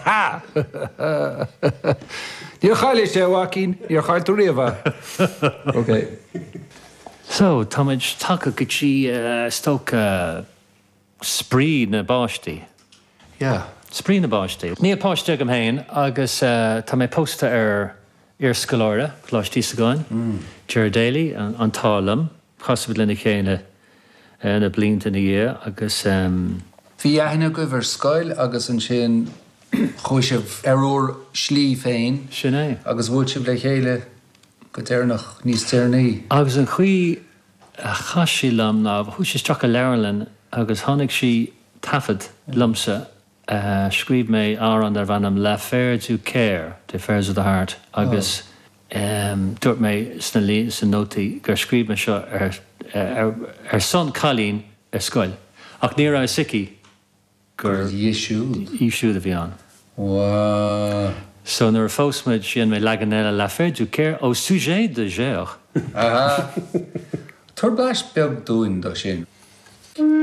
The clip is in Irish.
Ha! Níor chaillis é, a mhaicín, níor chaill tú riamh é. Ok. So, táimid tagtha go dtí, is dócha, spraoi na bpáistí. Yeah. Spraoi na bpáistí. Níl páiste agam féin agus tá mé pósta ar iarscoláire Choláiste Íosagáin, Ger Daly, an t-ádh liom. Chas muid lena chéile na blianta ina dhiaidh agus. Bhí aithne agaibh ar scoil agus ansin chuaigh sibh ar bhur slí féin. Sin é. Agus bhuail sibh le chéile go deireanach, níos deireanaí. Agus an chaoi a chas sí liom ná chuaigh sí isteach i leabharlann agus chonaic sí taifead liomsa, scríobh mé amhrán darbh ainm L'Affaire du Coeur, The Affairs of the Heart, agus dúirt mé sna sna nótaí gur scríobh mé seo ar ar son cailín ar scoil ach ní raibh a fhios aici gur í siúd. í siúd a bhí ann. Wow. So nuair a phós muid, dhein mé leagan eile L'Affaire du Coeur au sujet de Ger. Aha. Tabhair blais beag dúinn do sin.